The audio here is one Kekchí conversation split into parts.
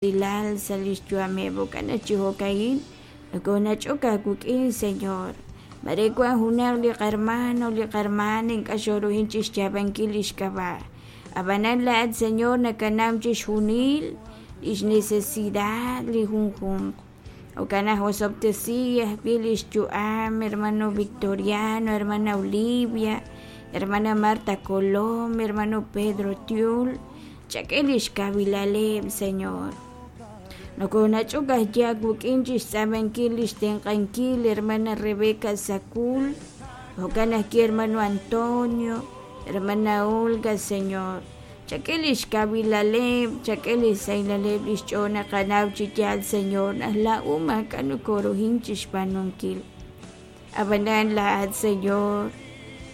Usilal sa' lix yu'ameb'. Jo'kan naq chi jo'ka'in nokonach'ok aawik'in, Señor. Mare wan junaq li qarmano, li qarmana ink'a' xooruhin chixyaab'ankil lix k'ab'a'. Ab'anan laa'at, Señor, nakanaw chixjunil lix necesidad li junjunq. Jo'kan naq osob'tesi ajwi' lix yu'am hermano Victoriano, hermana Olivia, hermana Marta Colom, hermano Pedro Tiul. Chak'e lix kawilaleb', Señor. Nokonach'ok ajwi' aawik'in chixtz'aamankil lix tenq'ankil hermana Rebeca Sacul, jo'kan ajwi' hermano Antonio, hermana Olga, Señor. Chak'e lix kawilaleb', chak'e lix sahilaleb' lix ch'ool naqanaw chi yaal, Señor, naq laa'o maak'a' nokoruhin chixb'aanunkil. Ab'anan laa'at, Señor,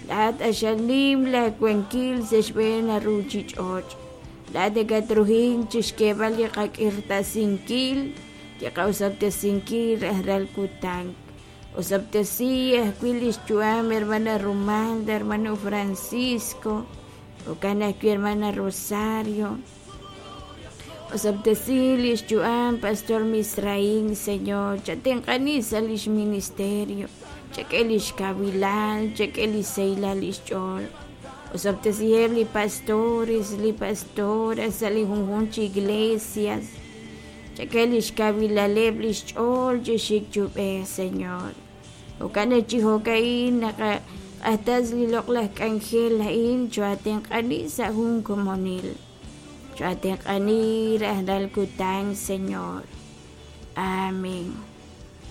laa'at q'axal nim laawankil sa' xb'een li ruuchich'och'. Laa'at nakatruhink chi xk'eeb'al li qak'irtasinkil, li qa'osob'tesinkil rajlal kutan. Osob'tesi ajwi' li xyu'am hermana Rumalda, hermano Francisco, jo'kan ajwi' hermana Rosario. Osob'tesi li xyu'am Pastor Misraín, Señor, chatenq'ani sa' li xministerio, chak'e li xkawilal, chak'e li xsahilal li xch'ool. Osob'tesiheb' li pastores, li pastoras sa' li junjunq chi iglesias. Chak'e li xkawilaleb' li xch'ool chi xik chi ub'ej, Señor. Jo'kan naq chi jo'ka'in naqaq'axtas li loq'laj k'anjel a'in cho'atenq'ani sa' jun komonil. Cho'atenq'ani rajlal kutan, Señor. Amén.